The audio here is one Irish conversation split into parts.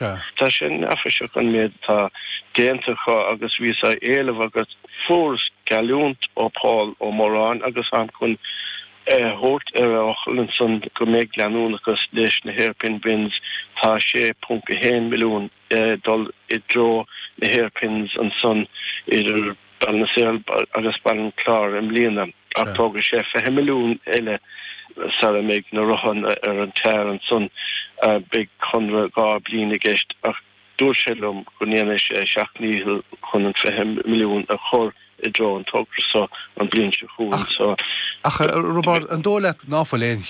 Tá sé neafaiseach an méid atá déanta acu agus bhíos á éileamh agus fuaireas geallúint ó Paul Ó Móráin agus táim chun é a thabhairt ar a fhocal ansan go mbeidh leanúnachas leis na hairpin bends. Tá 6.1 milliún ag dul i dtreo na hairpins ansan idir Ballinasloe agus Baile an Chláir i mbliana ach tógfaidh sé 20 milliún eile sara mbeidh na rothanna ar an tar ansan. Beidh conradh 2 bliain i gceist ach dúirt sé liom go ndéanfaidh sé a sheacht ndícheall chun an 20 milliún a chur i dtreo an togra so an bhliain seo chugainn. So. Ach, a Roibeárd, an dóigh leat ná fuil aon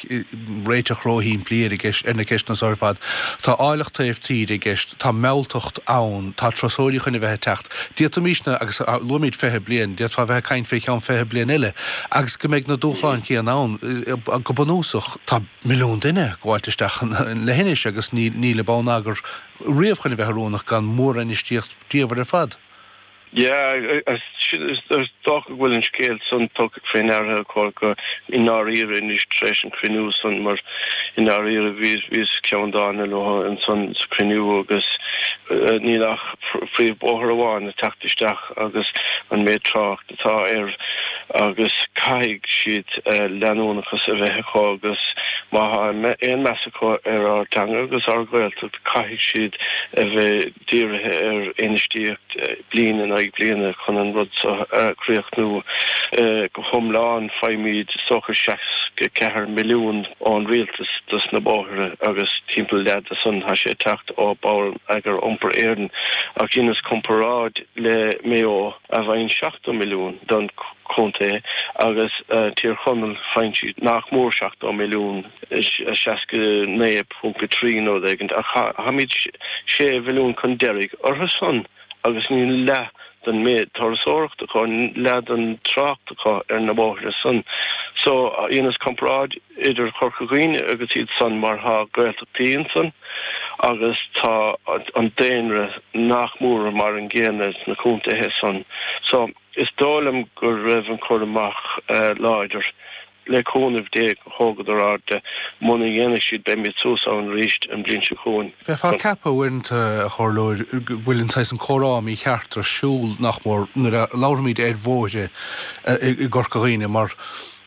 réiteach róshimplí ar ar na ceisteanna so ar fad? Tá áilleacht taobh tíre i gceist, tá mealltacht ann, tá turasóirí chun a bheith ag teacht. D'fhéadfaimísne, agus luaimid 20 bliain, d'fhéadfá a bheith ag caint fé cheann 20 bliain eile agus go mbeidh na dúshláin chéanna ann. Go bunúsach, tá milliún duine ag gabháilt isteach leithinis agus níl an bonneagar riamh chun a bheith oiriúnach gan mórinfheistíocht bhríomhar ar fad. Yeah, is dócha go bhfuil an scéal san tugtha fé ndeara acu go i ndáiríre anois tar éis an chruinniú san mar i ndáiríre bhíos ceanndána leo ansan sa chruinniú agus níl ach príomhbhóthar amháin ag teacht isteach agus an méid trácht atá air agus caithfidh siad leanúnachas a bheith acu agus má thá aon meas acu ar ár dteanga agus ár Ghaeltacht caithfidh siad a bheith dírithe ar infheistíocht bliain in aghaidh bliana chun an rud seo a chríochnú go hiomlán. Faighimid is dócha 64 milliún ón rialtas dos na bóithre agus timpeall leath de san tá sé ag teacht ó Bonneagar Iompair Éireann ach dheineas comparáid le Maigh Eo a bhfaigheann 70 milliún don chontae agus Tír Chonaill faigheann siad nach mór 70 milliún. 69.3 nó rud éigin, ach táimid 6 mhilliún chun deiridh orthu san agus níl leath den méid turasóireachta acu, leath den trácht acu ar na bóithre san. So, dheineas comparáid idir Chorca Dhuibhne agus iad san mar tá Gaeltachtaí ansan agus tá an daonra nach mór mar an gcéanna sna contaetha san. So, is dóigh liom go raibh an cur amach láidir. Le cúnamh Dé go thógadar aird de. Muna ndéanfaidh siad beimid suas ann arís an bhliain seo chugainn. Bheifeá ag ceapadh uaireanta, a Chomhairleoir, go bhfuil an saghas an comhrá mícheart ar siúl, nach mór, nuair a labhraímid ar bhóithre i gCorca Dhuibhne, mar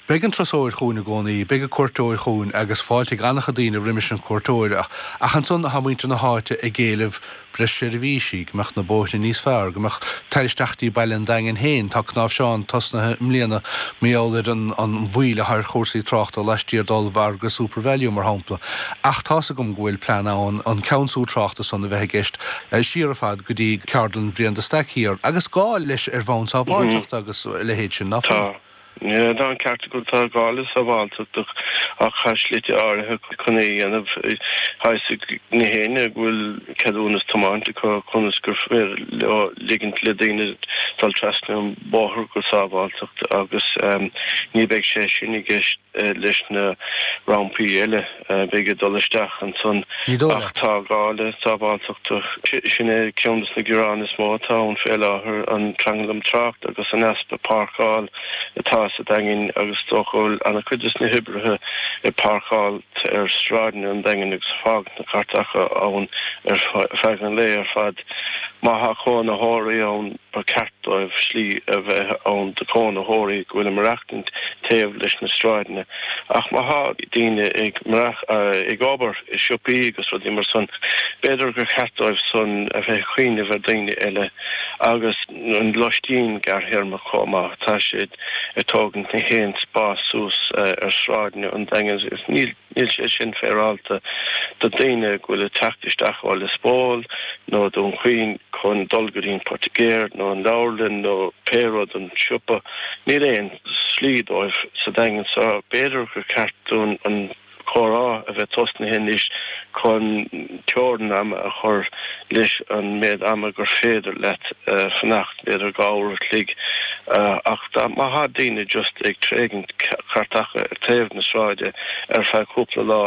beidh an turasóir chugainn i gcónaí, beidh an cuairteoir chugainn agus fáilte ag an-chuid daoine roimis an cuairteoir ach ansan tá muintir na háite ag éileamh breis seirbhísí, go mbeadh na bóithre níos fearr, go mbeadh tar isteach dtí baile an Daingin féin. Tá cnáimhseán tosnaithe i mbliana mar gheall ar an mhoill atá ar chúrsaí tráchta laistiar d'ollmhargadh Supervalu, mar shampla. Ach tá's agam go bhfuil plean ann an ceansú tráchta san a bheith i gceist siar ar fad go dtí ceardlann Bhriain de Staic thiar, agus gá leis ar bhonn sábháilteachta agus a leithéid sin, ná fuil? Tá. Tá an ceart agat, tá gá le sábháilteacht ach tá slite áirithe chun é a dhéanamh. Tá fhios ag na héinne go bhfuil ceadúnas tiomáint acu conas gur féidir leo ligint le daoine dul trasna an bóthar go sábháilteacht agus ní beidh sé sin i gceist leis na rampaí eile. Beidh ag dul isteach ansan ach tá gá le sábháilteacht. Sin é ceann de na gearáin is mó atá ann fé láthair, an tranglam trácht agus an easpa páirceáil atá sa Daingean agus is dócha go bhfuil an-chuid de na hoibrithe ag páirceáil ar sráideanna an Daingin agus ag fágaint na cairteacha ann ar feadh an lae ar fad. Má thá cónaitheoirí ann ba cheart dóibh slí a bheith ann do chónaitheoirí go bhfuil ag maireachtaint taobh leis na sráideanna. Ach má thá daoine ag ag obair i siopaí agus rudaí mar san, b'fhéidir gur cheart dóibh san a bheith ag cuimhneamh ar daoine eile agus an loistín gearrthéarmach chomh maith. Tá siad ag tógaint na haon spás suas ar sráideanna an Daingin agus níl Níl sé sin féaráilte do daoine go bhfuil ag teacht isteach ó Lios Póil nó Dún Chaoin chun dul go dtí an poitigéir nó an leabharlann nó pé rud, an siopa. Níl aon slí dóibh sa Daingean so b'fhéidir gur ceart dúinn an comhrá a bheith tosnaithe anois chun teorainn ama a chur leis an méid ama gur féidir leat fanacht, b'fhéidir 2 uair a chloig, ach má thá daoine just ag tréigint cairteacha ar taobh na sráide ar feadh cúpla lá,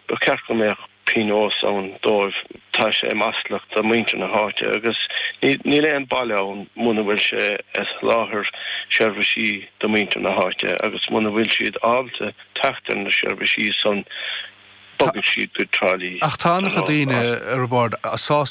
ba cheart go mbeadh pionós ann dóibh. Tá sé maslach do muintir na háite agus níl aon baile ann muna bhfuil sé ag soláthar seirbhísí do muintir na háite agus muna bhfuil siad ábalta teacht ar na seirbhísí san. Bogfaidh siad go Trá Lí. Ach tá an-chuid daoine, a Roibeaird, sásta.